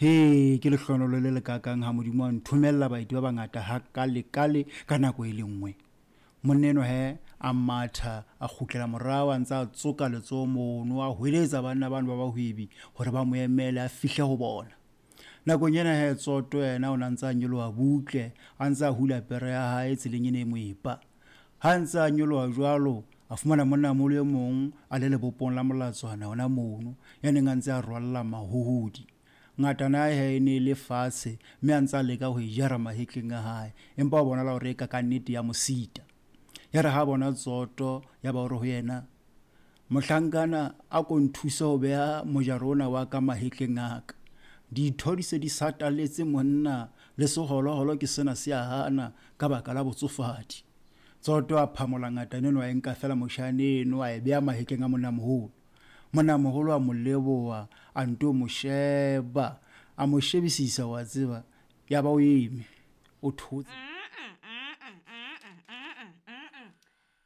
He, ke lehlohonolo le lekaakang ha Modimo a nthomella baeti ba bangata hakalekale ka nako e le nngwe. Monna enwa he a matha a kgutlela morao a ntse a tsoka letsoho mono, a hweletsa banna bano ba bahwebi hore ba mo emele a fihle ho bona. Nakong ena he Tsoto yena o ne a ntse a nyoloha butle, a ntse a hula pere ya hae tseleng ena e moepa. Ha a ntse a nyoloha jwalo, a fumana monnamoholo e mong a le lebopong la molatswana hona mono, ya neng a ntse a rwalla mahohodi. Ngatana ya hae e ne e le fatshe mme a ntse a leka ho e jara mahetleng a hae, empa ho bonala hore eka ka nnete ya mo sita. Ya re ha a bona Tsoto, ya ba o re ho yena, Mohlankana, a ko nthuse ho beha mojaro ona wa ka mahetleng a ka. Ditho di se di sataletse monna, le seholoholo ke sena se a hana ka baka la botsofadi. Tsoto a phamola ngatana eno a e nka feela moshane eno a e beha mahetleng a monnamoholo. Monnamoholo a mo leboha, a nto mo sheba, a mo shebisisa wa tseba, ya ba o eme, o thotse.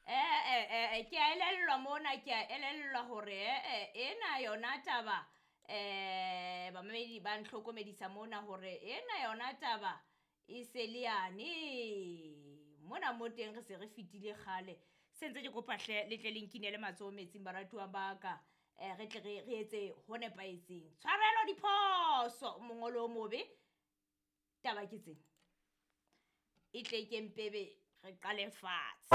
Ee, ke a elellwa mona, ke a elellwa hore ee, ena yona taba um bamamedi ba ntlhokomedisa mona hore ena yona taba E se le yane mona mo teng re se re fetile kgale. Se ntse ke kopa hle le tle le nkinele matsoho metsing baratuwa ba ka eh, re tle re re etse ho nepahetseng. Tshwarelo diphoso mongolo o mobe. Taba ke tsena. E tle ke mpebe re qale fatshe.